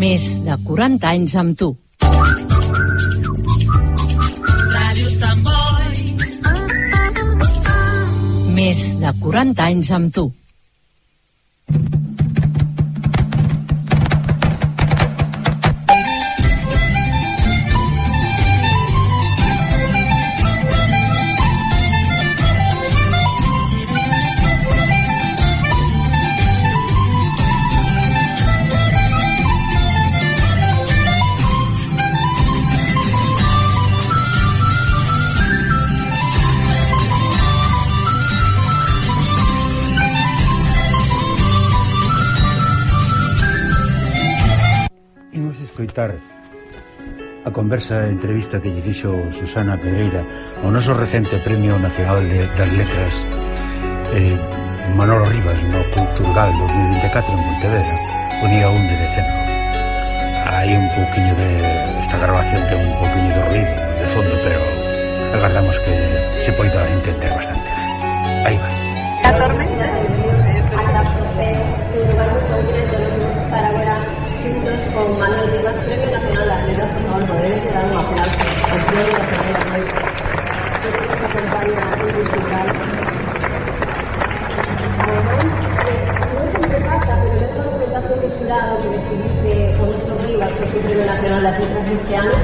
Més de 40 anys amb tu. Ràdio Sant Boi. Més de 40 anys amb tu. Escoitar a conversa e entrevista que lle fixo Susana Pedreira ao noso recente Premio Nacional das Letras Manolo Rivas no Culturgal 2024 en Pontevedra o día 1 de decembro. Hai un pouquiño de esta grabación, ten un pouquiño de ruido de fondo, pero agardamos que se poida entender bastante. Aí va. A tormenta este lugar moi concreto de estar agora juntos con Manuel Rivas, Premio Nacional das Letras. Por favor, podedes dar un aplauso ao Premio Nacional das Letras que nos acompaña a cultural. Non sei que pasa, pero dentro do documentazo culturado que decidiste con noso Rivas, que é o Premio Nacional das Letras este ano,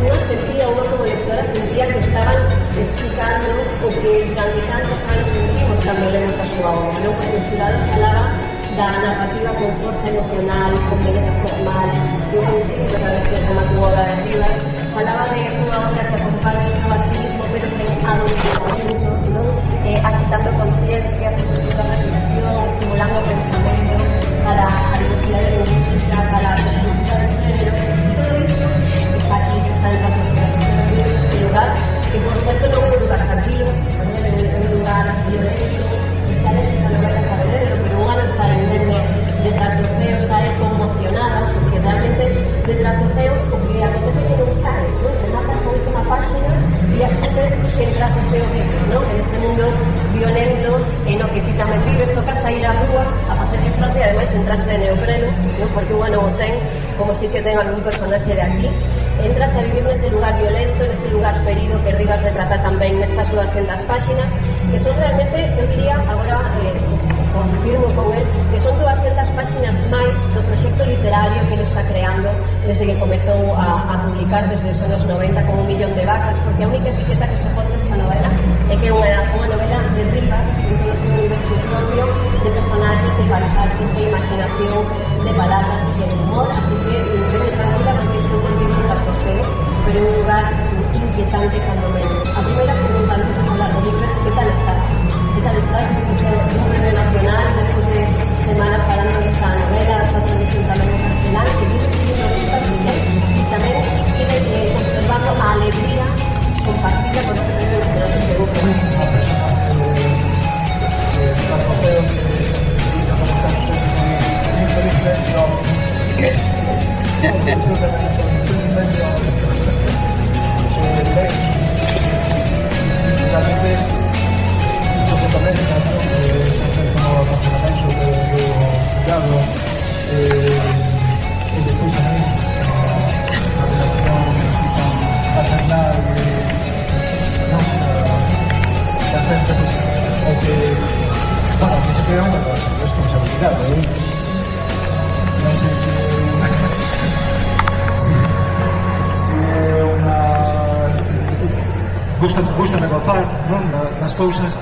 unha sentía, unha como lectora sentía que estaban explicando o que durante tantos anos sentimos cando lemos a súa obra, non? Porque o xurado falaba da narrativa con forza emocional, con beleza formal, que un principio que a veces como a túa obra de Rivas, falaba de unha obra que acompaña o activismo, pero sen adoctrinamiento, non? Agitando conciencias, estimulando a reflexión, estimulando o pensamento para a diversidade lingüística, para a perspectiva de género, todo iso está aquí, está en las obras, este lugar, que por cierto non é un lugar tranquilo, é un lugar violento, está dentro da novela Saberelo, pero unha non sabe verme detrás do ceo, sabe conmocionada, porque realmente detrás do ceo o que acontece que non sabes, non? Que matas a última página e asumes que detrás do ceo vives, non? En ese mundo violento en o que ti tamén vives, toca sair á rúa a facerle fronte e ademais entrarse de neopreno, non? Porque unha non o ten, como si que ten algún personaxe de aquí, entras a vivir nese lugar violento, nese lugar ferido que Rivas retrata tamén nestas 200 páxinas, que son realmente, eu diría, agora confirmo con él, que son 200 páxinas máis do proxecto literario que ele está creando desde que comezou a publicar desde os anos 90 con 1 millón de vacas, porque a única etiqueta que soporta esta novela é que é unha novela de Rivas, en todo o seu universo propio, de personajes, de paisajes, de imaginación, de palabras e de humor, así que vene tranquila porque es un contigo tras o ceo, pero é un lugar inquietante cando menos. A primeira pregunta antes de hablar de Rivas, que tal estás? Que tal estás despois de un premio nacional, despois de semanas falando desta novela, a súa tradición tamén en castelán, que vive escribindo listas de bien, e tamén vive observando a alegría compartida por ese premio nacional que se busca. Unha persona tras o ceo que digamos que moi feliz realmente iso que tamén como funcionamento do juzgado e despois tamén a relación paternal da xente o que bueno, que se crea unha responsabilidade non sei se é unha gusta negociar, non, das cousas,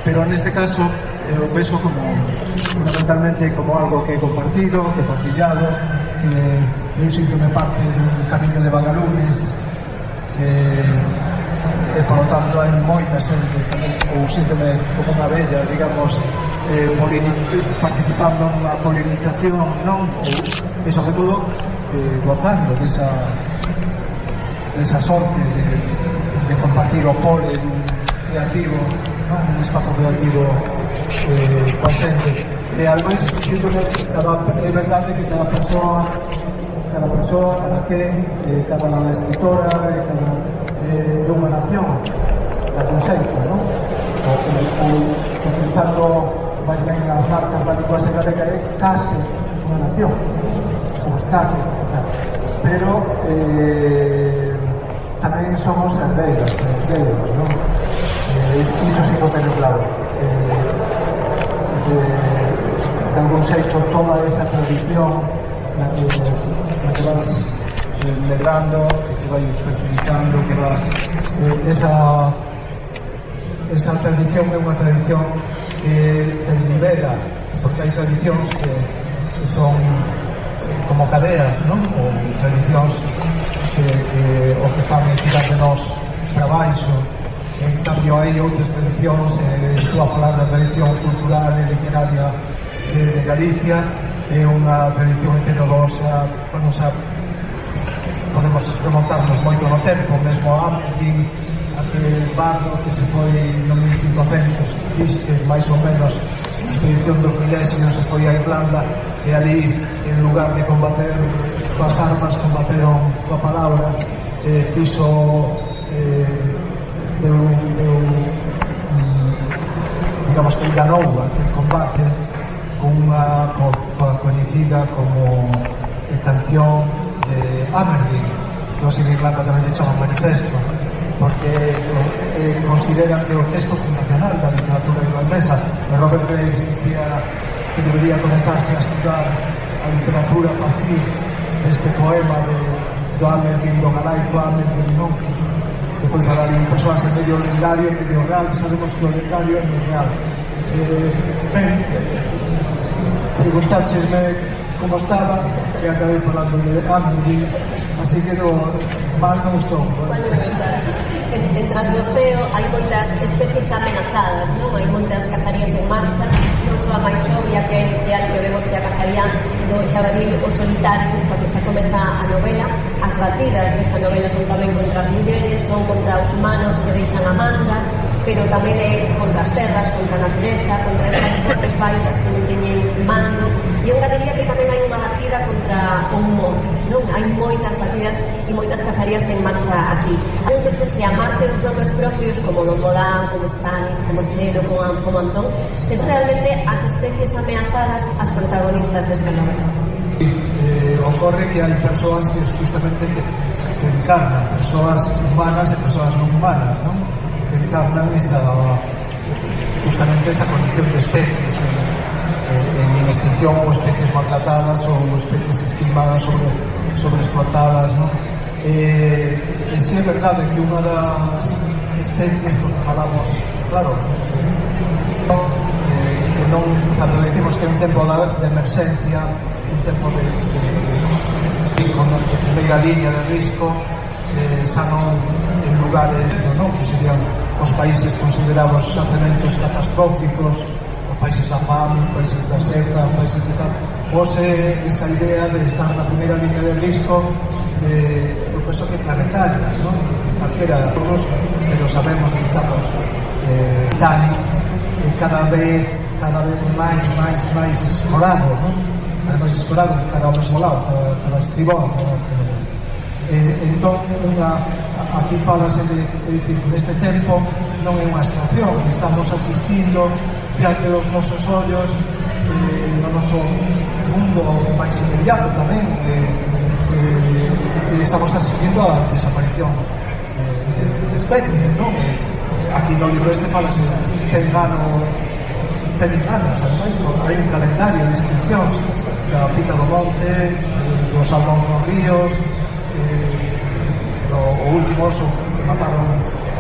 pero neste caso eu penso como fundamentalmente como algo que é compartido, que é partillado, que eu síntome parte dun camiño de vagalumes e por lo tanto hai moita xente ou síntome como unha bella, digamos, participando nunha polinización, non? E sobre todo gozando desa sorte de compartir o pole dun creativo, non? Un espazo creativo coa xente. E ademais, é verdade que cada persoa, cada quen, cada escritora, cada unha nación, da conceita, non? Ou utilizando máis ben as marcas da lingua galega é case unha nación, ou case pero tamén somos herdeiros, non? Iso sí que teño claro. De algún xeito toda esa tradición na que vas medrando, que te vai fertilizando, que vas esa tradición é unha tradición que te libera, porque hai tradicións que son como cadeas, non? Ou tradicións que o que fan é tirar de nós para baixo. En cambio hai outras tradicións, estou a falar da tradición cultural e literaria de Galicia, é unha tradición heterodoxa, podemos remontarnos moito no tempo, mesmo a Amerdin, aquel bardo que se foi no 1500, que máis ou menos a expedición dos milesios se foi a Irlanda, e ali, en lugar de combater coas armas, combateron coa palabra, fixo digamos que ganou aquel combate con unha coñecida como canción de Amerdin, que os en Irlanda tamén lle chaman manifesto, porque consideran que o texto fundacional da literatura irlandesa. Robert Graves dicía que debería comenzarse a estudar a literatura a partir deste poema do Amerdin, do galaico Amerdin, non? Que foi para ali persoas en medio lendario e medio real, que sabemos que o lendario é moi real. Ben, preguntáchesme como estaba e acabei falando de Amerdin, así que mal non estou. En Trasgoceo hai moitas especies amenazadas, non? Hai moitas cazarías en marcha, non só a máis obvia que é inicial, que vemos que a cazaría do xabaril o solitario, cando xa comeza a novela. As batidas desta novela son tamén contra as mulleres, son contra os humanos que deixan a manda, pero tamén é contra as terras, contra a natureza, contra estas voces baixas que non teñen mando. E eu diría que tamén hai unha batida contra o humor, non? Hai moitas batidas e moitas cazarías en marcha aquí. Entón, se amarse dos nomes propios como Don Bodán, como Stanis, como Chelo, como Antón, se son realmente as especies ameazadas as protagonistas desta novela. Ocorre que hai persoas que justamente que encarnan, persoas humanas e persoas non humanas, non? Que encarnan justamente esa condición de especies en extinción, ou especies maltratadas ou especies esquilmadas sobre explotadas, non? E si é verdade que unha das especies, porque falamos, claro, que non, cando decimos que é un tempo de emerxencia, un tempo de risco, de primeira línea de risco, xa non en lugares, non, que serían os países considerados xacementos catastróficos, os países da fame, os países da seca, os países de tal, pose esa idea de estar na primeira línea de risco do peso que planetaria, non? Calquera de todos, pero sabemos que estamos cada vez máis escorado, non? Máis escorado cada ao mesmo lado, cada estribón, entón aquí falase de dicir, neste tempo non é unha abstracción, estamos asistindo diante dos nosos ollos no noso mundo máis inmediato tamén, estamos asistindo a desaparición de especies, non? Aquí no libro este falase ten anos, ademais, hai un calendario de extincións da Pita do Monte, dos salmóns nos ríos, o último oso que mataron,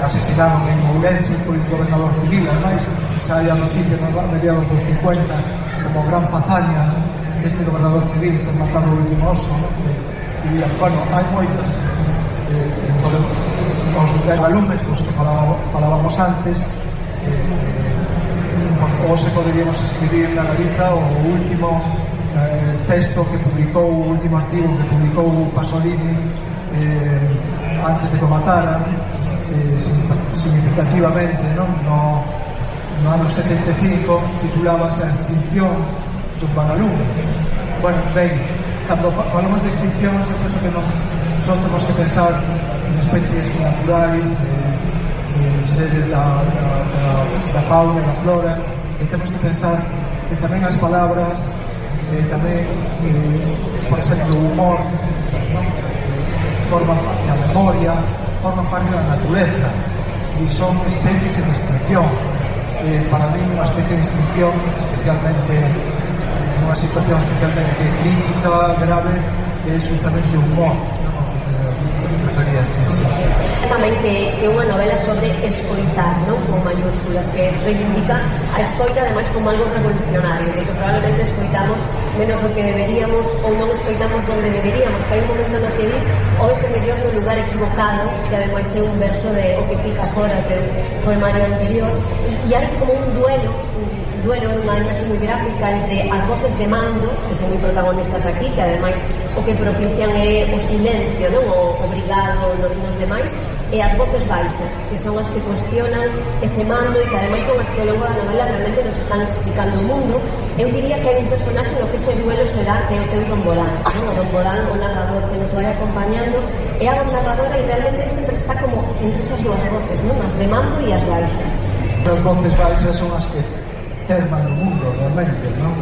asesinaron en Ourense, foi un gobernador civil, ademais, xa hai a noticia nos mediados dos 50 como gran fazaña este gobernador civil que mataron o último oso, e, bueno, hai moitas os valumes dos que falábamos antes, hoxe poderíamos escribir na Galiza o último texto que publicou, o último artigo que publicou Pasolini antes de que o mataran, significativamente, non? No ano 75 titulábase A extinción dos vagalumes. Bueno, ben, cando falamos de extincións, eu penso que non só temos que pensar en especies naturais, seres da fauna e da flora, e temos que pensar que tamén as palabras, tamén, por exemplo, o humor, non? Forman parte da memoria, forman parte da natureza e son especies en extinción. Para mí unha especie de extinción, especialmente nunha situación especialmente crítica, grave, é justamente o humor, prefería extinción. Tamén que é unha novela sobre escoitar, non? Con mayúsculas, que reivindica a escoita ademais como algo revolucionario, porque probablemente escoitamos menos do que deberíamos ou non escoitamos donde deberíamos, que hai un momento no que dis o ese mellor no lugar equivocado, que ademais é un verso de O que fica fora do poemario anterior, e hai como un duelo unha imaxe moi gráfica entre as voces de mando, que son moi protagonistas aquí, que ademais o que propician é o silencio, non? O obrigado nos demais, e as voces baixas, que son as que cuestionan ese mando e que ademais son as que ao longo da novela realmente nos están explicando o mundo. Eu diría que hai un personaxe no que ese duelo se dá, que é o teu Don Bolán, non? O Don Bolán, o narrador que nos vai acompañando, é a narradora e realmente sempre está como entre esas dúas voces, non? As de mando e as baixas. As voces baixas son as que terman o mundo realmente, non?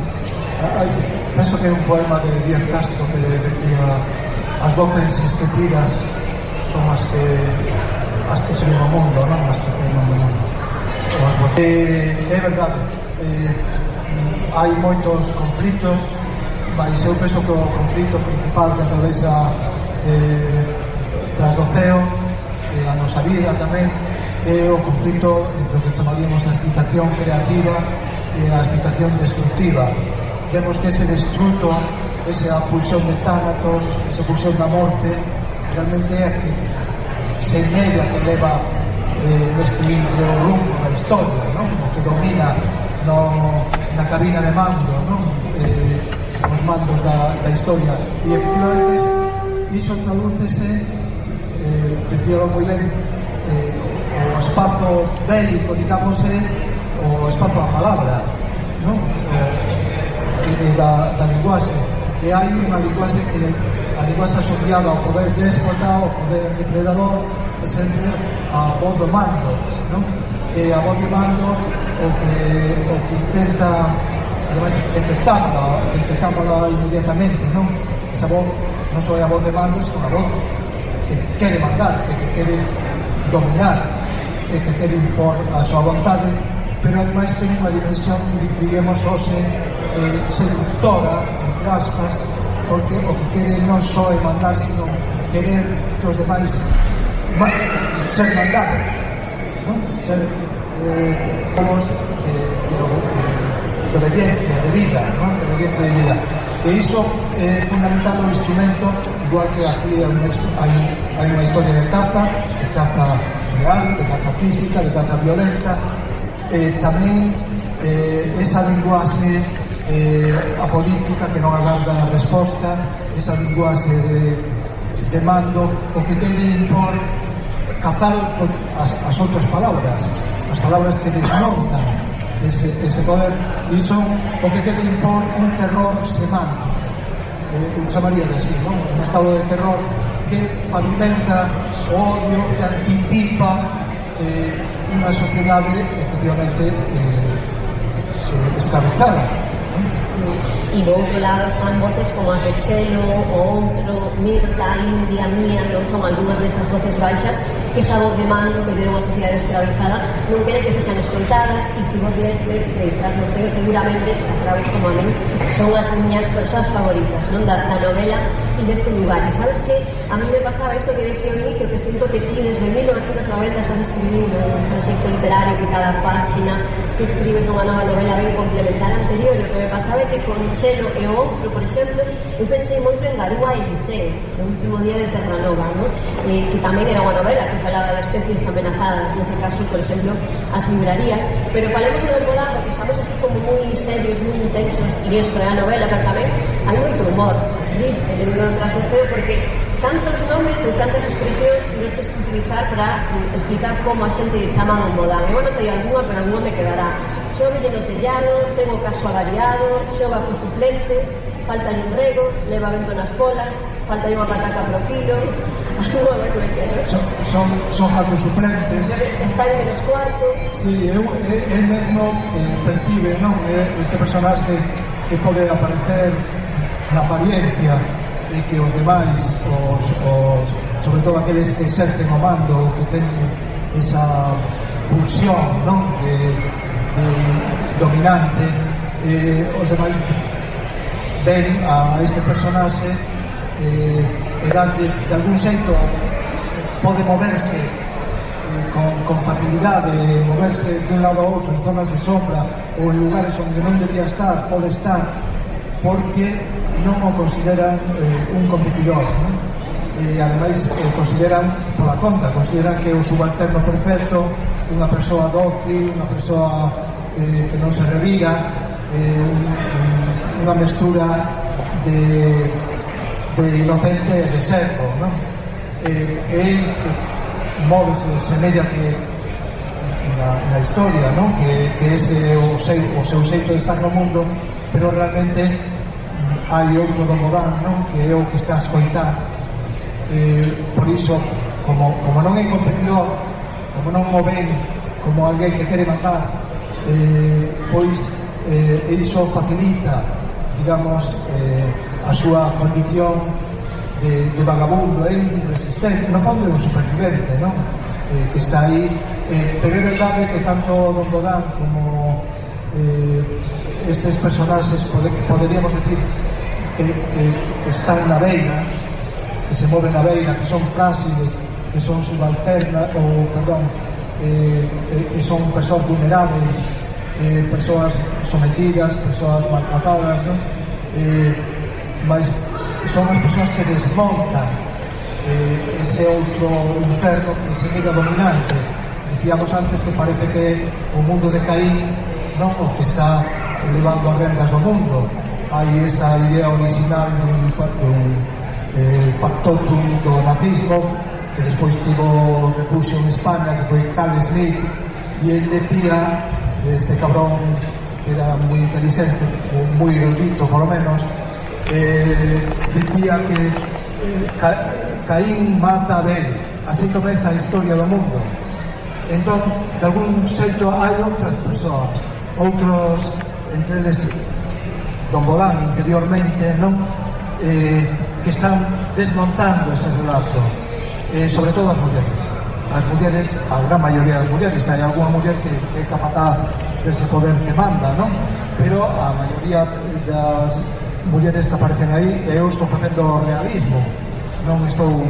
Penso que é un poema de Díaz Castro que le decía: as voces esquecidas son as que son o mundo, non? As que terman o mundo. É verdade, hai moitos conflitos, mas eu penso que o conflito principal que atravesa tras do ceo a nosa vida tamén é o conflito entre o que chamaríamos a excitación creativa e a excitación destructiva. Vemos que ese destruto, esa pulsión de tánatos, esa pulsión da morte, realmente é a que señela que leva neste libro o rumbo da historia, non? O que domina na cabina de mando, non? Os mandos da historia. E efectivamente iso tradúcese, decíalo moi ben, o espazo bélico, digamos, o espazo da palabra, non? Da linguaxe. E hai unha linguaxe que a linguaxe asociada ao poder déspota, ao poder depredador, é sempre a voz do mando, non? E a voz do mando o que intenta, ademais, detectámola inmediatamente, non? Esa voz non só é a voz de mando, é unha voz que quere mandar, que quere dominar, que quere impor a súa vontade, pero ademais ten unha dimensión, digamos, hoxe seductora, entre aspas, porque o que quere non só é mandar, sino querer que os demais ser mandados, non? Ser de obediencia, de vida, non? De obediencia de vida. E iso é fundamental o instrumento, igual que aquí hai unha historia de caza real, de caza física, de caza violenta, tamén esa linguaxe apolítica que non agarda a resposta, esa linguaxe de mando, o que quere impor cazar as outras palabras, as palabras que desmontan ese poder, e son o que quere impor un terror semántico, eu chamaría de así, non? Un estado de terror que pavimenta o odio, que anticipa unha sociedade efectivamente escravizada. E do outro lado están voces como as de Chelo, o Outro, Mirta, India, Mía, non son algunhas desas voces baixas que esa voz de mando que tiene unha sociedade escravizada non quere que se sean escoltadas, e se vos lestes tras no ceo seguramente as graves como a mí son as miñas persoas favoritas, non? Da novela e dese lugar. E sabes que a mí me pasaba isto que decía ao inicio, que siento que ti desde 1990 estás escribindo un proxecto literario que cada página que escribes nunha nova novela ven complementar a anterior. E o que me pasaba é que con Chelo e o Outro, por exemplo, eu pensei moito en Garúa e Eliseo, no último día de Terranova, non? Que tamén era unha novela que falaba de especies amenazadas, nese caso, por exemplo, as librarías. Pero falemos de Bolán, porque estamos así como moi serios, moi intensos, e isto é a novela, pero tamén hai moito humor, triste, debido ao trasfesteo, porque tantos nomes ou tantas expresións que noches que utilizar para explicar como a xente chama Don Bolán. Eu anotei algunha, pero algunha me quedará. Chove no tellado, ten o casco avariado, xoga cos suplentes, falta un rego, leva vento nas polas, falta unha pataca pro quilo. Algo máis me quedo. Son jatos suplentes. Está en menos cuarto. Sí, eu mesmo percibe, non? Este personaxe que pode aparecer na apariencia e que os demais, sobre todo aqueles que exercen o mando, que teñen esa pulsión, non? Dominante, os demais ven a este personaxe e danlle, de algún xeito, pode moverse con facilidade, moverse de un lado a outro en zonas de sombra ou en lugares onde non debía estar, pode estar, porque non o consideran un competidor, non? E ademais consideran pola conta, consideran que é o subalterno perfecto, unha persoa dócil, unha persoa que non se revira, unha mestura de inocente e de servo, non? E móvese, semella que na historia, non? Que ese é o seu xeito de estar no mundo, pero realmente hai outro do Modán, non? Que é o que está a escoitar. Por iso, como non é competidor, como non o ven como alguén que quere matar, pois iso facilita, digamos, a súa condición de vagabundo, resistente, no fondo é un supervivente, non? Que está aí, pero é verdade que tanto Don Bodán como estes personaxes poderíamos decir que están na beira, que se moven na beira, que son frágiles, que son subalternas, ou, perdón, que son persoas vulnerables, persoas sometidas, persoas maltratadas, non? Mas son as persoas que desmontan ese outro inferno que se queda dominante. Dicíamos antes que parece que o mundo de Caín, non, o que está levando as rendas do mundo. Hai esa idea original dun factotum do nazismo, que despois tivo refugio en España, que foi Carl Schmitt, e ele decía, este cabrón que era moi inteligente, ou moi erudito por lo menos, dicía que Caín mata a Abel, así comeza a historia do mundo. Entón, de algún xeito hai outras persoas, outros, entre eles Don Bodán interiormente, non? Que están desmontando ese relato, sobre todo as mulleres. As mulleres, a gran maioría das mulleres, hai algunha muller que é capaz dese poder que manda, non? Pero a maioría das mulleres que aparecen aí, e eu estou facendo realismo, non estou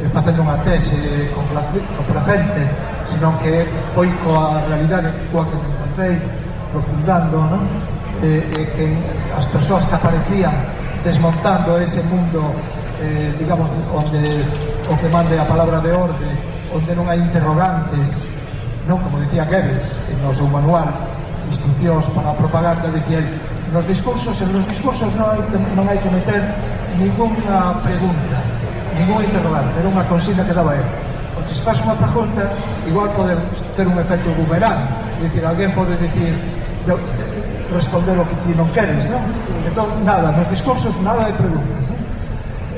facendo unha tese complacente, senón que foi coa realidade coa que me encontrei profundando, non? Que as persoas que aparecían desmontando ese mundo, digamos, onde o que mande a palabra de orde, onde non hai interrogantes, non? Como dicía Goebbels no seu manual Instruccións para a propaganda, dicía ele, nos discursos non hai que meter ninguna pregunta, ningún interrogante, era unha consigna que daba ele. O que se faz unha pregunta, igual pode ter un efecto boomerang, é dicir, alguén pode dicir, responder o que ti non queres, non? Entón, nada, nos discursos nada de preguntas, non?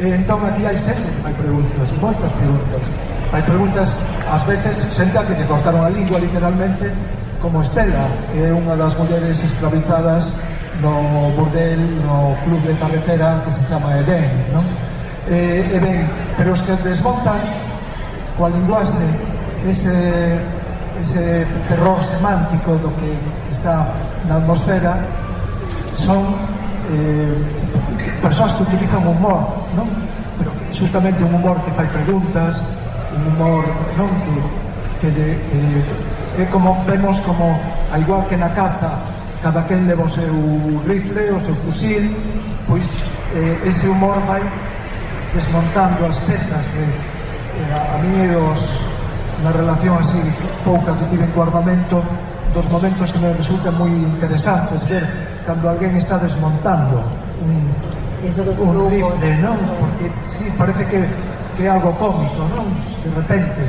Entón, aquí hai sempre hai preguntas, moitas preguntas. Hai preguntas, ás veces, xente a que te cortaron a lingua, literalmente, como Estela, que é unha das mulleres esclavizadas no burdel, no club de carretera que se chama Edén, non? E ben, pero os que desmontan coa linguaxe ese terror semántico do que está na atmosfera son persoas que utilizan humor, non? Pero justamente un humor que fai preguntas, un humor, non? Que é como vemos como, a igual que na caza, cada quen leva o seu rifle, o seu fusil, pois ese humor vai desmontando as pezas a mí na relación así pouca que tive co armamento, dos momentos que me resultan moi interesantes, ver cando alguén está desmontando un rifle, non? Porque sí, parece que é algo cómico, non? De repente,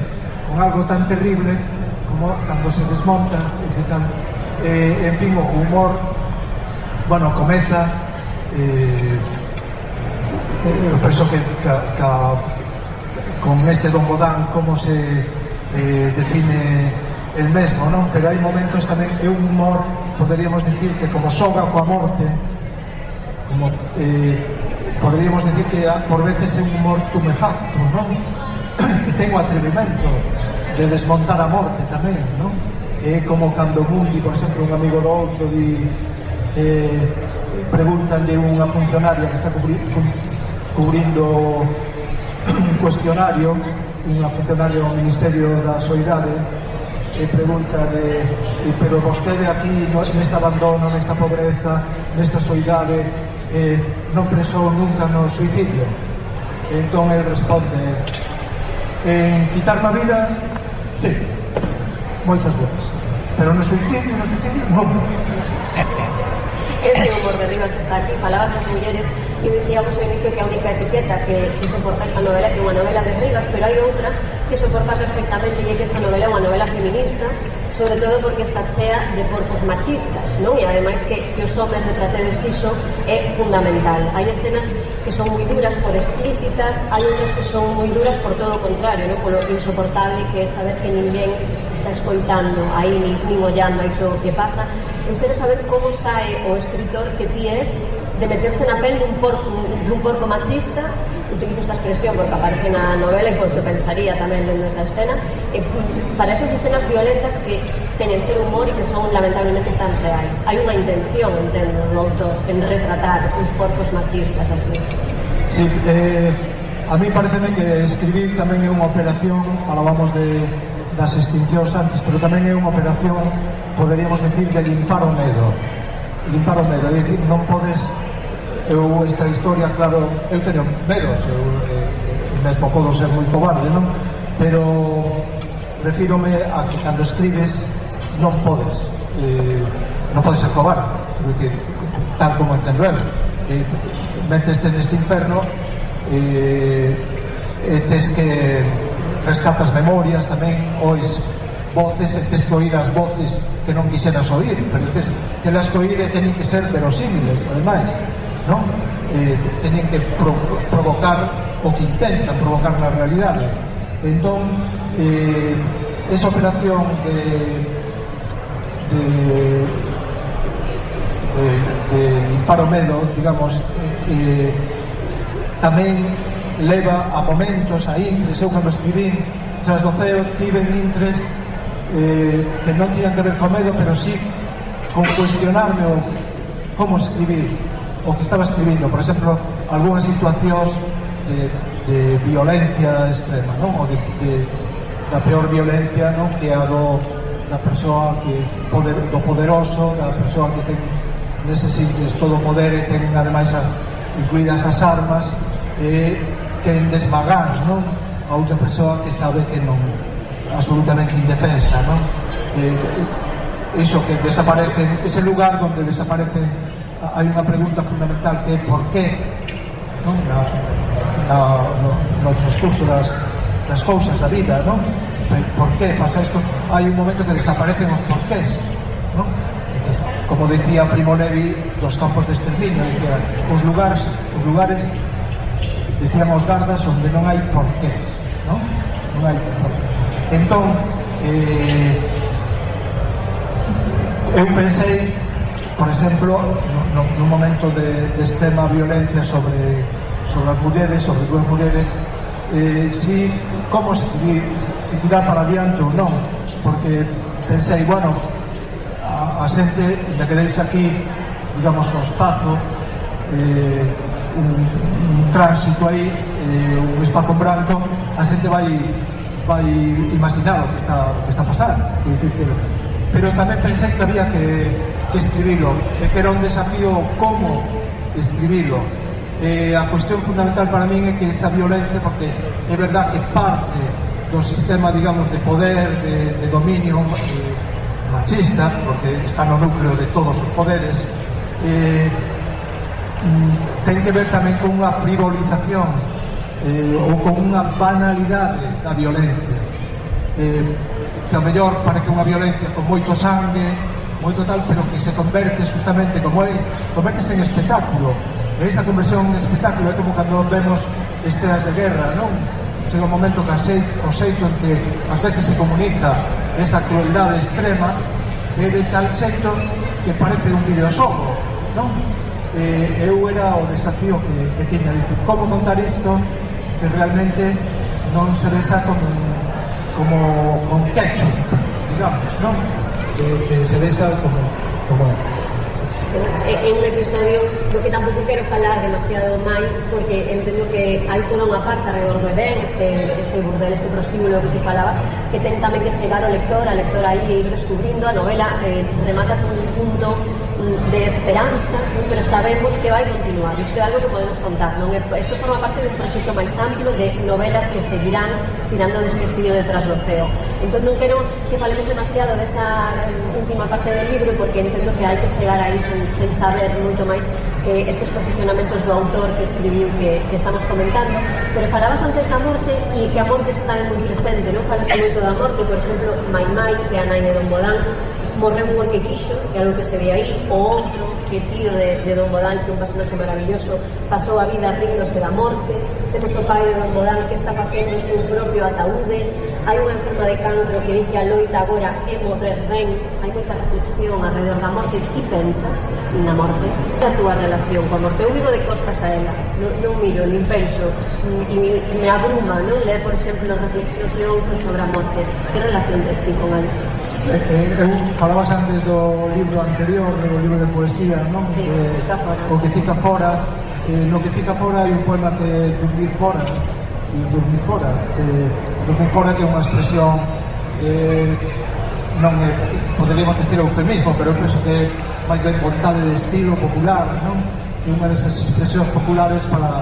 con algo tan terrible como cando se desmonta, en fin, o humor, bueno, comeza, eu penso que con este Don Bodán como se define el mesmo, non? Pero hai momentos tamén que un humor, poderíamos dicir que como soga coa morte, como poderíamos decir que por veces é un humor tumefacto, non? Que ten o atrevimento de desmontar a morte tamén, non? É como cando Mundi, por exemplo, un amigo do outro pregúntanlle unha funcionaria que está cubrindo un cuestionario, unha funcionaria do Ministerio da Soidade, e pregúntale, pero vostede aquí neste abandono, nesta pobreza, nesta soidade, non pensou nunca no suicidio? E entón ele responde, en quitarme a vida, sí, moitas veces, pero no suicidio, non. Ese humor de Rivas que está aquí, falaba das mulleres, e dicíamos ao inicio que a única etiqueta que soporta esta novela é unha novela de Rivas, pero hai outra que soporta perfectamente, e é que esta novela é unha novela feminista, sobre todo porque está chea de porcos machistas, non? E ademais que os homes retratedes iso é fundamental. Hai escenas que son moi duras por explícitas, hai outras que son moi duras por todo o contrario, non? Polo insoportable que é saber que ninguén está escoitando aí nin ollando a iso que pasa. Eu quero saber como sae o escritor que ti es de meterse na pel dun porco machista, utilizo esta expresión porque aparece na novela e porque pensaría tamén lendo esa escena, para esas escenas violentas que teñen ser humor e que son lamentablemente tan reais. Hai unha intención, entendo, do autor en retratar os porcos machistas así. Sí, a mí pareceme que escribir tamén é unha operación, falábamos das extincións antes, pero tamén é unha operación, poderíamos decir, de limpar o medo, é dicir, non podes, esta historia, claro, eu teño medos, eu mesmo podo ser moi cobarde, non? Pero refírome a que cando escribes non podes ser cobarde, é dicir, tal como entendo el, meteste neste inferno e tes que rescatas memorias tamén, ois voces, e tes que oír as voces que non quixeras oír, pero tes que las que oír e teñen que ser verosímiles, ademais, non? Teñen que provocar o que intentan provocar na realidade. Entón, esa operación de limpar o medo, digamos, tamén leva a momentos, a intres. Eu cando escribín Tras do ceo tiven intres que non tiñan que ver co medo, pero sí con cuestionarme como escribir o que estaba escribindo. Por exemplo, algunhas situacións de violencia extrema, non? Ou da peor violencia, non? Que a da persoa do poderoso, da persoa que ten neses intres todo o poder e ten ademais incluídas as armas, queren desmagar, non? A outra persoa que sabe que non, absolutamente indefensa, non? Iso que desaparece, ese lugar donde desaparecen, hai unha pregunta fundamental que é por qué, non? No transcurso das cousas da vida, non? Por qué pasa isto? Hai un momento que desaparecen os porqués, non? Como decía Primo Levi dos campos de exterminio, decía, os lugares decían os gardas onde non hai porqués, non? Non hai porqués. Entón, eu pensei, por exemplo, nun momento de extrema violencia sobre as mulleres, sobre dúas mulleres, como escribir, se tirar para adiante ou non, porque pensei, bueno, a xente, ya que deis aquí, digamos, o espazo, un tránsito aí, un espazo en branco, a xente vai imaginar o que está pasando, pero tamén pensei que había que escribilo, e que era un desafío como escribilo. A cuestión fundamental para min é que esa violencia, porque é verdad que parte do sistema, digamos, de poder, de dominio machista, porque está no núcleo de todos os poderes, ten que ver tamén con unha frivolización ou con unha banalidade da violencia, que ao mellor parece unha violencia con moito sangue, moito tal, pero que se converte justamente, convertese en espectáculo. E esa conversión en espectáculo é como cando vemos escenas de guerra, non? Chega un momento que o xeito en que ás veces se comunica esa crueldade extrema é de tal xeito que parece un videoxogo, non? eu era o desafío que tiña, dicir, como contar isto que realmente non se besa como con ketchup, digamos, non? Que se besa como é un episodio do que tampouco quero falar demasiado máis, porque entendo que hai toda unha parte alrededor do Edén, este burdel, este prostíbulo que te falabas, que ten tamén que chegar o lector, a lectora aí, e ir descubrindo. A novela remata con un punto de esperanza, pero sabemos que vai continuar. Isto é algo que podemos contar, non? Isto forma parte de un proxecto máis amplo de novelas que seguirán tirando deste fío detrás do ceo. Entón non quero que falemos demasiado desa última parte do libro, porque entendo que hai que chegar aí sen saber moito máis estes posicionamentos do autor que escribiu que estamos comentando. Pero falabas antes da morte, e que a morte está tamén moi presente, non? Falase moito da morte, por exemplo, Mai Mai, que é a nai de Don Bodán, morreu porque quixo, que é algo que se ve aí. O outro, que tío de Don Bodán, que é un personaxe maravilloso, pasou a vida ríndose da morte. Temos o pai de Don Bodán que está facendo o seu propio ataúde. Hai unha enferma de cancro que di que a loita agora é morrer ben. Hai moita reflexión alrededor da morte. Que pensas na morte? É a túa relación coa morte? Eu vivo de costas a ela, non miro, nin penso, e me abruma, non? Ler, por exemplo, reflexións de outros sobre a morte. Que relación tes ti con ela? Eu falabas antes do libro anterior, do libro de poesía, non? Sí, o que fica fora. No que fica fora hai un poema que é Dormir fora. Dormir fora. Dormir fora que é unha expresión non é, poderíamos decir eufemismo, pero eu penso que é máis ben vontade de estilo popular, non? É unha desas expresións populares para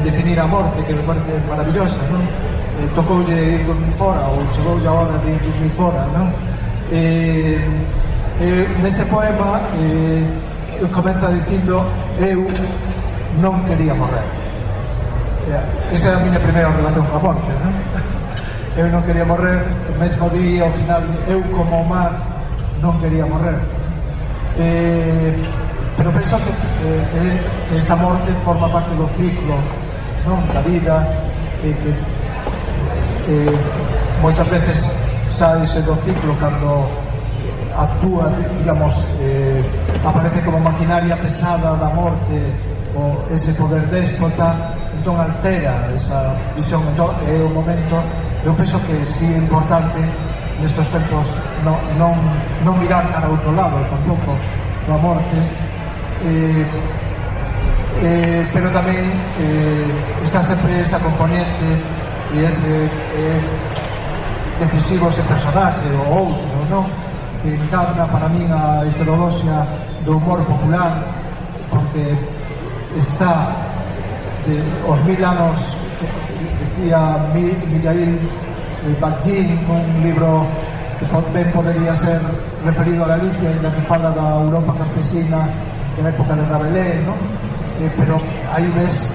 definir a morte, que me parece maravillosa, non? Tocoulle ir dormir fora, ou chegoulle a hora de ir dormir fora, non? Nese poema comeza dicindo: eu non quería morrer. Esa é a miña primeira relación coa morte, non? Eu non quería morrer, mesmo di ao final, eu como o mar non quería morrer. Pero penso que esa morte forma parte do ciclo, non? Da vida, que moitas veces saíse do ciclo cando actúa, digamos, aparece como maquinaria pesada da morte, o ese poder déspota, entón altera esa visión. Entón é o momento, eu penso que si é importante nestes tempos non mirar para outro lado tampouco da morte, pero tamén está sempre esa componente e ese decisivo, ese personaxe o outro, non? Que encarna para min a heterodoxia do humor popular, porque está os 1000 anos, decía Mikhail Bakhtin, un libro que ben podería ser referido a Galicia, en que fala da Europa campesina da época de Rabelais, non? Pero aí ves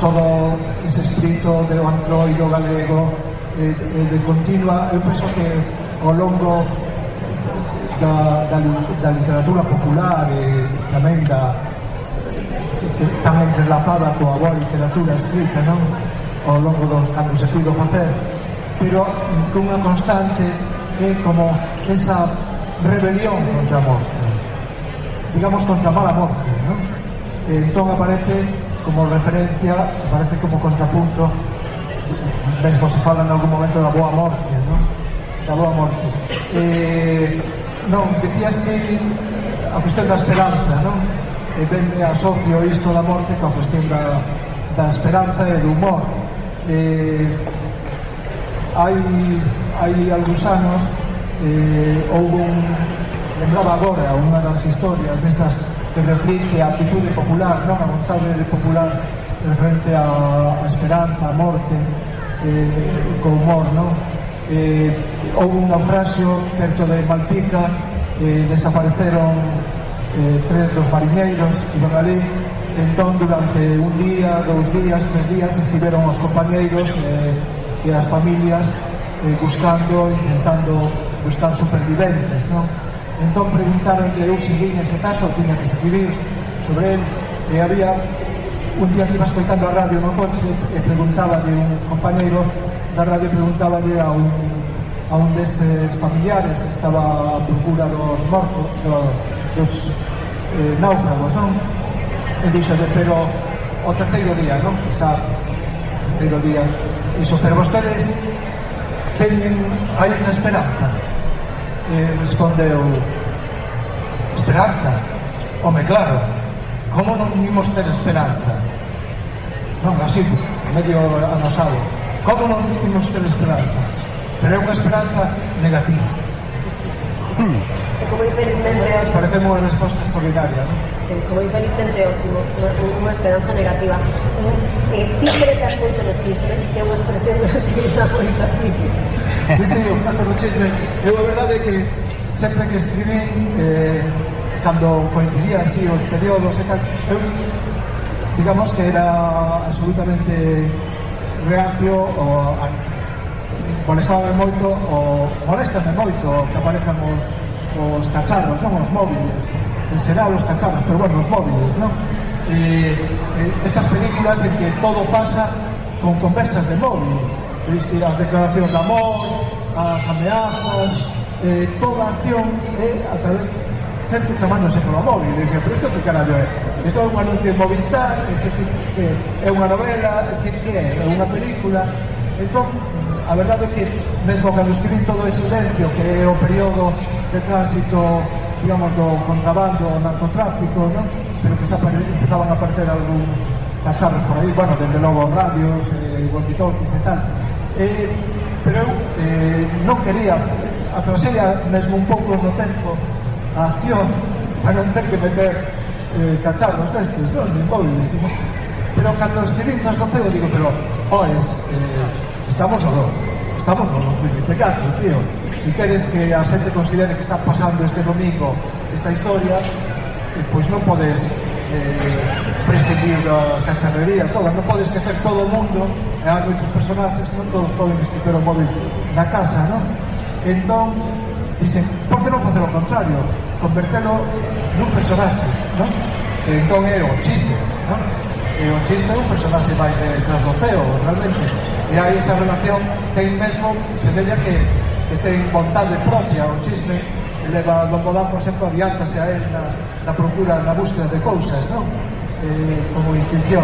todo ese espírito de antroido galego, de continua. Eu penso que ao longo da literatura popular e tamén que tan entrelazada coa boa literatura escrita, non? Ao longo dos cando se puido facer, pero cunha constante é como esa rebelión contra a morte, digamos, contra a mala morte, non? Entón aparece como referencia, aparece como contrapunto, mesmo se fala en algún momento da boa morte, non? Da boa morte. Non, decías que a cuestión da esperanza, non? Ben asocio isto da morte coa cuestión da esperanza e do humor. Hai algúns anos houve lembraba agora unha das historias destas que reflicte a actitude popular, non? A vontade popular referente a esperanza, a morte, co humor, non? Houve un naufraxio perto de Malpica, desapareceron 3 dos marineiros que iban ali. Entón, durante un día, 2 días, 3 días estiveron os compañeiros e as familias intentando buscar superviventes, non? Entón preguntaron que eu seguí nese caso, tiña que escribir sobre él, e había un día que iba escoitando a radio no coche e preguntaba de un compañeiro da radio, preguntaba a un destes familiares que estaba a procura dos mortos, dos náufragos, non? e dixo pero o terceiro día, non? Quizá o terceiro día dixo, pero vostedes hai unha esperanza. E respondeu, esperanza? Home, claro, como non imos ter esperanza? Non, así, medio anosado, como non imos ter esperanza? Pero é unha esperanza negativa. Como infelizmente parece unha resposta extraordinaria, non? Sí, como infelizmente óptimo, unha esperanza negativa. Ti cretas moito no chisme, que é unha expresión que se utiliza moito aquí. Sí, o creto no chisme. Eu a verdade é que sempre que escribín, cando coincidía así os períodos e tal, eu digamos que era absolutamente reacio molestame moito que aparezan os cacharros, non os móviles, en xeral os cacharros, pero bueno, os móviles, non? Estas películas en que todo pasa con conversas de móvil, as declaracións de amor, as ameazas, toda a acción é a través sempre chamándose polo móvil. E dixen, pero isto que carallo é? Isto é un anuncio en Movistar, é unha novela, que é? É unha película. Entón, a verdade é que mesmo cando escribín todo ese silencio, que é o período de tránsito, digamos, do contrabando, o narcotráfico, non? Pero que empezaban a aparecer algúns cacharros por aí, bueno, dende logo radios, walkie-talkies e tal. Pero eu non quería, atrasei mesmo un pouco no tempo a acción para non ter que meter cacharros destes, non? Ni móviles, non? Pero cando escribín tras do ceo, digo, pero, estamos no 2024, tío. Si queres que a xente considere que está pasando este domingo esta historia, pois non podes prescindir da cacharrería toda, non podes esquecer todo o mundo, e hai moitos personaxes, non todos poden esquecer o móvil na casa, non? Entón, dixen, por que non facer o contrario? Convertelo nun personaxe, non? Entón é o chiste, non? E o chiste é un personaxe máis de trasloceo, realmente. E hai esa relación que aí mesmo se veía que ten vontade propia. O chisme leva Don Bodán, por exemplo, adiántase a él na procura, na búsqueda de cousas, non? Como instinción.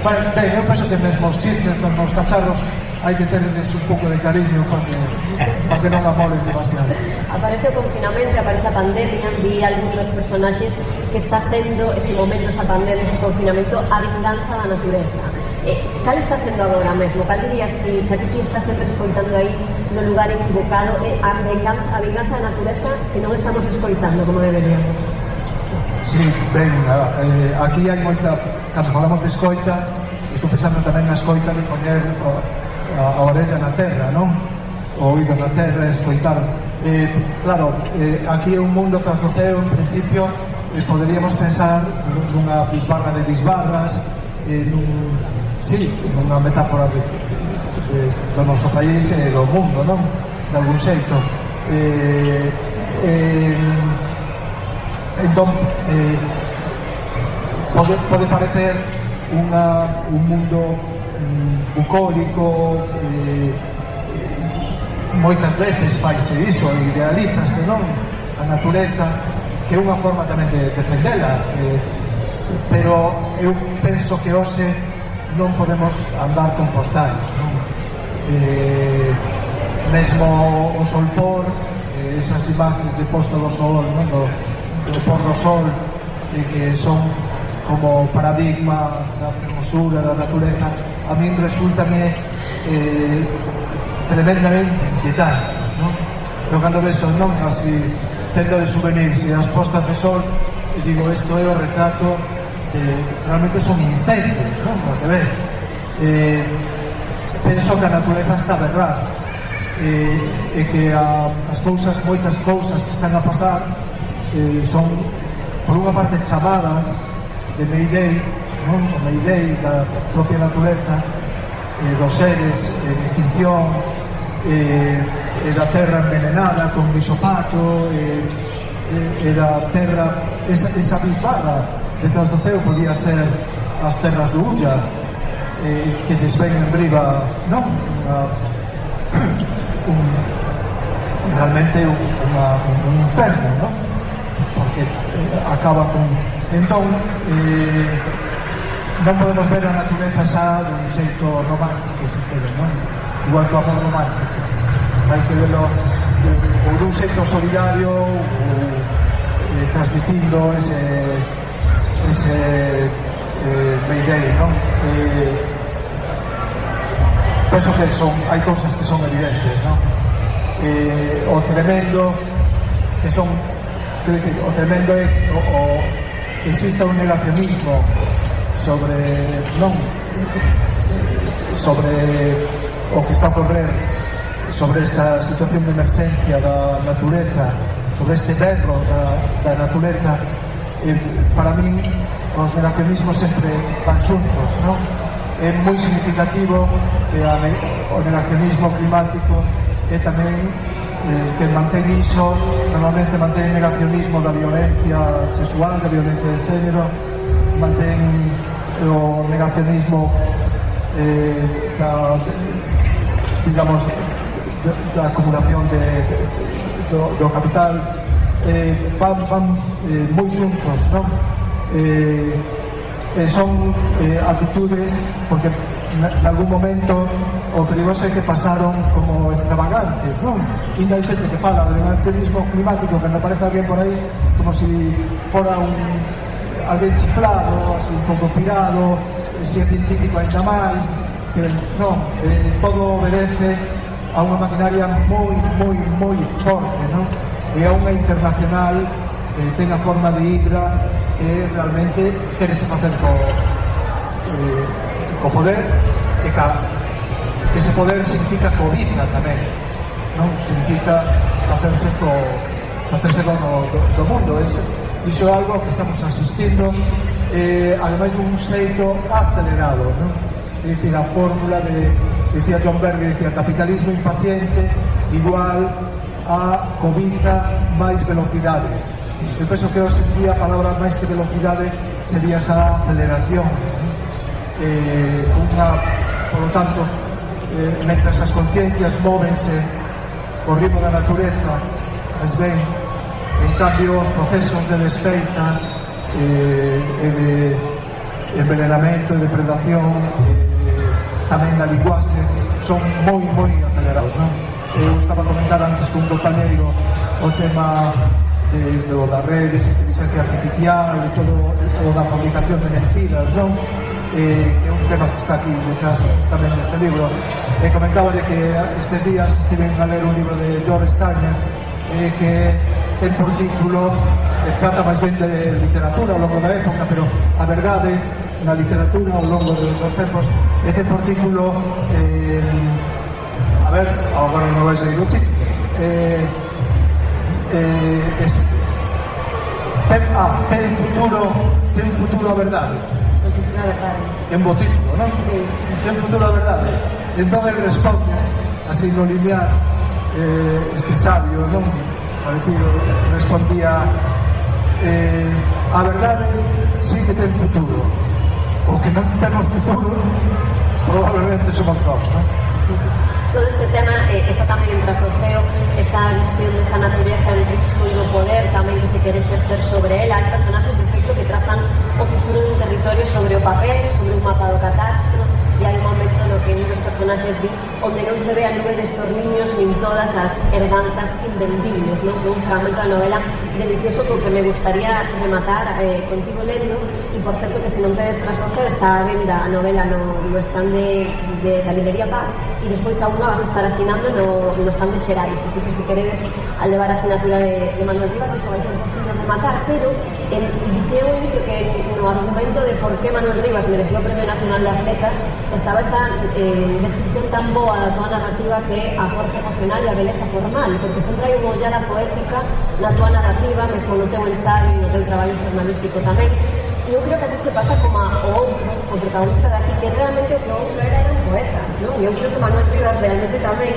Ben, eu penso que mesmo os chismes, nos cacharros, hai que terles un pouco de cariño para que non amolen demasiado. Aparece o confinamento, aparece a pandemia, vi algún dos personaxes que está sendo ese momento, esa pandemia, ese confinamento, a vinganza da natureza. Cal está sendo agora mesmo? Cal dirías que xa que ti estás sempre escoitando aí no lugar equivocado, a vinganza da natureza que non estamos escoitando como deberíamos? Sí, ben, aquí hai moita, cando falamos de escoita, estou pensando tamén na escoita de poñer a orella na terra, non? O oído na terra, escoitar. Claro, aquí é un mundo tras do ceo, en principio, poderíamos pensar nunha bisbarra de bisbarras, nunha metáfora do noso país e do mundo, non? De algún xeito. Entón, pode parecer un mundo bucólico, moitas veces faise iso, idealízase, non? A natureza, que é unha forma tamén de defendela, pero eu penso que hoxe non podemos andar con postais, non? Mesmo o solpor, esas imaxes de posta do sol, non? Do pôr do sol, que son como paradigma da hermosura da natureza, a min resultame tremendamente inquietantes, non? Eu cando vexo, non, así tendo de souvenirs e as postas de sol, e digo, isto é o retrato realmente son incendios, non? O que ves, penso que a natureza está berrada, e que as cousas, moitas cousas que están a pasar, son por unha parte chamadas de Mayday, non? O Mayday da propia natureza, dos seres en extinción, e da terra envenenada con glifosato, e da terra, esa bisbarra detrás do ceo podía ser as terras do Ulla, que lles ven en riba, non? realmente un inferno, non? Porque acaba con Entón, non podemos ver a natureza xa dun xeito romántico, se quere, non? Igual que o amor romántico. Hai que verlo ou dun xeito solidario ou transmitindo ese Mayday, non? Penso que hai cousas que son evidentes, non? O tremendo que son, quero dicir, o tremendo é que exista un negacionismo sobre o que está a ocorrer, sobre esta situación de emerxencia da natureza, sobre este berro da natureza. Para min os negacionismos sempre van xuntos, non? É moi significativo que o negacionismo climático é tamén que mantén iso, normalmente mantén negacionismo da violencia sexual, da violencia de género, mantén o negacionismo digamos da acumulación do capital, van moi xuntos, non? Son actitudes porque en algún momento o perigoso é que pasaron como extravagantes, non? Ainda hai xente que fala do negacionismo climático que me parece alguén por aí como se fora alguén chiflado, así, un pouco pirado, se é científico ainda máis, que non, todo obedece a unha maquinaria moi forte, non? E a unha internacional que ten a forma de hidra que realmente querese facer co poder, e ese poder significa cobiza tamén, non? Significa facerse dono do mundo. Iso é algo que estamos asistindo, ademais dun xeito acelerado, non? É dicir, a fórmula decía John Berger, decía capitalismo impaciente igual a cobiza máis velocidade. Eu penso que hoxe en día a palabra máis que velocidade sería esa aceleración. Por lo tanto, mentras as conciencias móvense ao ritmo da natureza, es ben, en cambio os procesos de desfeita e de envenenamento e depredación, tamén da linguaxe, son moi acelerados, non? Eu estaba a comentar antes con un compañeiro o tema da redes, inteligencia artificial e todo da fabricación de mentiras, non? É un tema que está aquí detrás tamén neste libro. Comentaba de que estes días estiven a ler un libro de George Steiner que ten por título, trata máis ben de literatura ao longo da época, pero a verdade na literatura ao longo dos tempos ten por título a ver, agora non vai ser inútil, ten futuro a verdade. Ten bo título, non? Sí. Ten futuro a verdade. Entón ele responde así no lineal, este sabio, non? Parecido, respondía a verdade sí que ten futuro, o que non temos futuro probablemente somos nós, non? Todo este tema está tamén en trasoceo, esa visión desa natureza del risco e do poder tamén que se quere exercer sobre ela. Hai personaxes de efecto que trazan o futuro dun territorio sobre o papel, sobre un mapa do catastro, e hai un momento no que muchos personaxes di onde non se ve a nube destos niños nin todas as herdanzas invendibles, non? Un fragmento da novela delicioso co que me gustaría rematar contigo lendo, e por certo que se non tedes trasoceo está a venda a novela no stand da librería Paz, e despois a unha vas a estar asinando no stand de Xerais, así que se queredes al levar a asinatura de Manuel Rivas, iso vai ser posible rematar, pero diceu que no argumento de por que Manuel Rivas mereció o Premio Nacional das Letras estaba esa descripción tan boa da tua narrativa que é a forza emocional e a beleza formal, porque sempre hai unha ollada poética na tua narrativa, mesmo no teu ensaio e no teu traballo jornalístico tamén. E eu creo que a ti se pasa como o outro, o protagonista de aquí, que realmente o que o outro era un poeta, non? E eu creo que Manuel Rivas realmente tamén,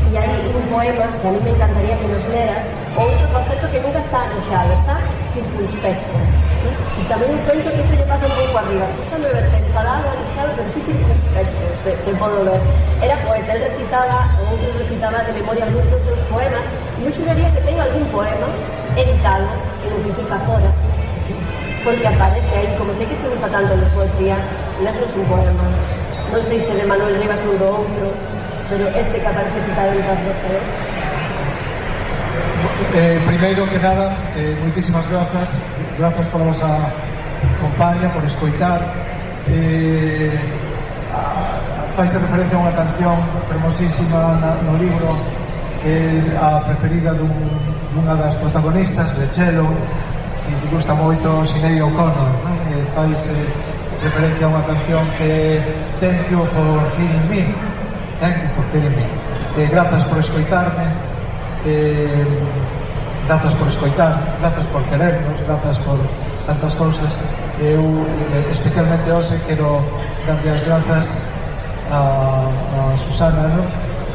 e hai un poema que a mí me encantaría que nos leras, o outro concepto que nunca está anoxado, está circunspecto, ¿sí? E tamén penso que iso lle pasa un pouco arriba, está me ver enfadado, anoxado, pero sí circunspecto, te podo ver. Era poeta, el recitaba, o outro recitaba de memoria algúns dos seus poemas, e eu xuraría que ten algún poema editado, que non significa fora, porque aparece aí, como sei que che gusta tanto de poesía, lesnos un poema. Non sei se de Manuel Rivas ou do outro, pero este que aparece quitado en Tras do Ceo. Primeiro que nada, moitísimas grazas pola vosa compañía, por escoitar. Faise referencia a unha canción fermosísima no libro, a preferida dunha das protagonistas, de Chelo, que me gusta moito, Sinead O'Connor, faise referencia a unha canción que Thank you for hearing me. Thank you for hearing me. Grazas por escoitarme, grazas por escoitar, grazas por querernos, grazas por tantas cousas. Eu especialmente hoxe quero darlle as grazas a Susana, ¿no?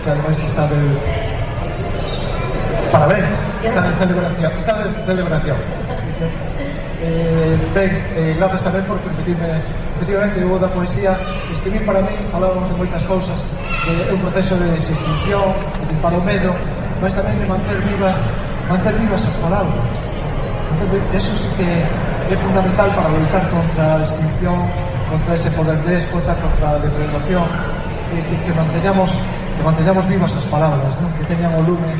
Que además está de parabéns, está de celebración. Grazas tamén por permitirme, efectivamente, eu da poesía escribir para mí, falábamos de moitas cousas, é un proceso de desextinción, de limpar o medo, mas tamén de manter vivas as palabras. Eso sí que é fundamental para luchar contra a extinción, contra ese poder déspota, contra a depredación, que manteñamos vivas as palabras, ¿no? Que teñan o lume,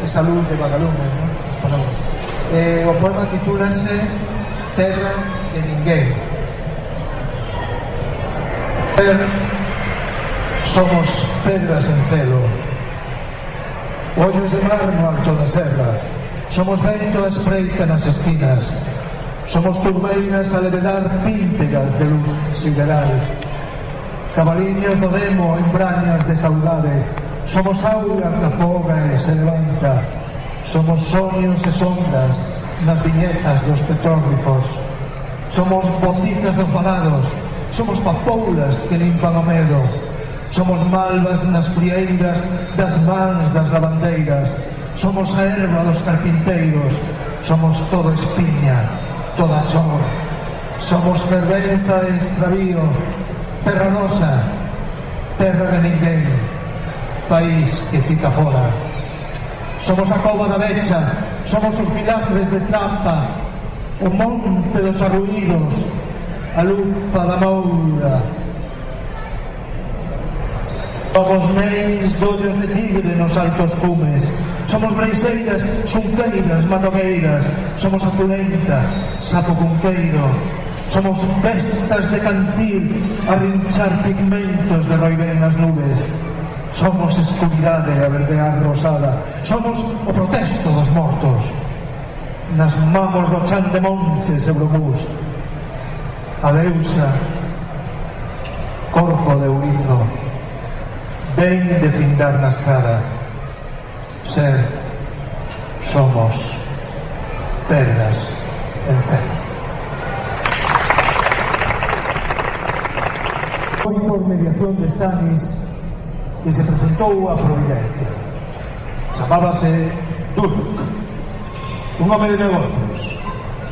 esa luz de vagalume, ¿no? As palabras. O poema titúlase Terra de Ninguén. Somos pedras en celo, ollos de mar no alto da serra. Somos vento a espreita nas esquinas. Somos turbeiras a levedar píntegas de luz sideral. Cabaliños do demo en brañas de saudade. Somos aura que afoga e se levanta. Somos soños e sondas nas viñetas dos petróglifos. Somos botizas dos balados. Somos papoulas que limpan o medo. Somos malvas nas frieiras das mans das lavandeiras. Somos a erva dos carpinteiros. Somos todo espiña, toda chor. Somos fervenza e extravío. Terra nosa, terra de ninguén, país que fica fora. Somos a cova da Becha. Somos os milagres de Trampa, o monte dos arruídos, a lupa da Moura. Somos neis dollos de tigre nos altos cumes. Somos breiseiras, xunqueiras, manogueiras. Somos azulenta, sapo cunqueiro. Somos bestas de cantil a rinchar pigmentos de roibén nas nubes. Somos escuridade a verdear rosada. Somos o protesto dos mortos. Nas mamos do chan de montes e bromús. A deusa, corpo de ourizo, ven de findar na estrada. Ser, somos pedras en celo. Foi por mediación de Stanis que se presentou a Providencia. Chamábase Durk, un home de negocios,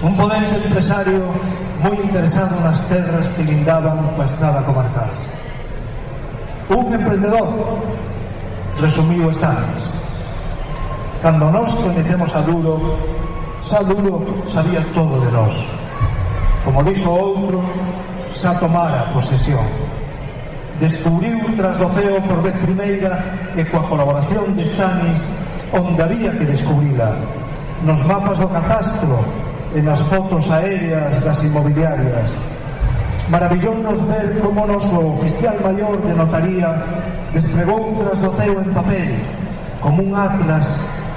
un potente empresario moi interesado nas terras que lindaban coa estrada comarcal. Un emprendedor, resumiu Stanis. Cando nós coñecemos a Duro, xa Duro sabía todo de nós. Como dixo outro, xa tomara posesión. Descubriu Tras do Ceo por vez primeira e coa colaboración de Stanis onde había que descubrila, nos mapas do catastro e nas fotos aéreas das inmobiliarias. Maravillónos ver como o noso oficial maior de notaría desplegou Tras do Ceo en papel como un atlas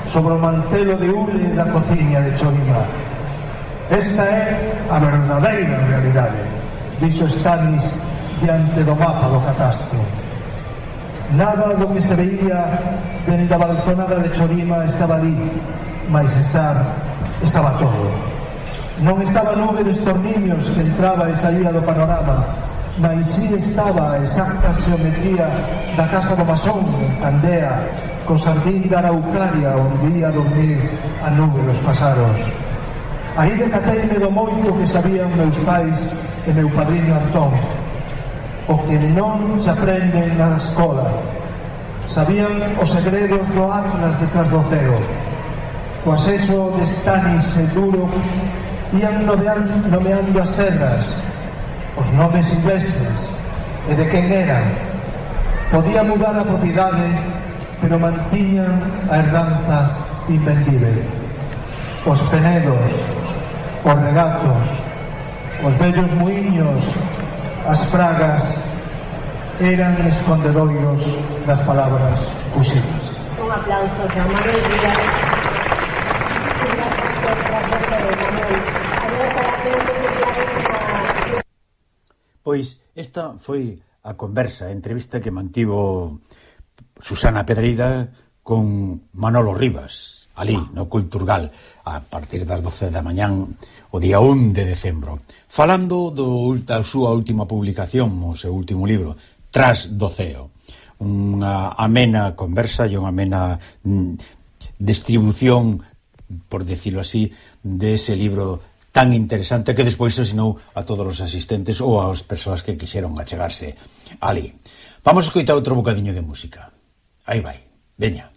sobre o mantelo de hule da cociña de Chorima. Esta é a verdadeira realidade, dixo Stanis diante do mapa do catastro. Nada do que se veía dende a balconada de Chorima estaba ali, mas estaba todo. Non estaba a nube de estorniños que entraba e saía do panorama, mas si estaba a exacta xeometría da casa do masón en Candea, co sardín da Araucaria onde ia dormir a nube dos pasaros. Aí decateime do moito que sabían meus pais e meu padriño Antón, o que non se aprende na escola. Sabían os segredos do atlas de Tras do Ceo. Co acceso de Stanis e Duro Ian nomeando as terras, os nomes silvestres e de quen eran. Podía mudar a propiedade, pero mantiñan a herdanza invendible. Os penedos, os regatos, os vellos muiños, as fragas, eran escondedoiros das palabras fusibles. Un aplauso a Manuel Díaz. Pois esta foi a conversa, a entrevista que mantivo Susana Pedreira con Manolo Rivas, ali no Culturgal, a partir das 12 da mañán o día 1 de decembro, falando da súa última publicación, o seu último libro, Tras do Ceo. Unha amena conversa e unha amena distribución, por decirlo así, dese libro tan interesante que despois asinou a todos os asistentes ou ás persoas que quixeron achegarse ali. Vamos a escoitar outro bocadiño de música. Aí vai, veña.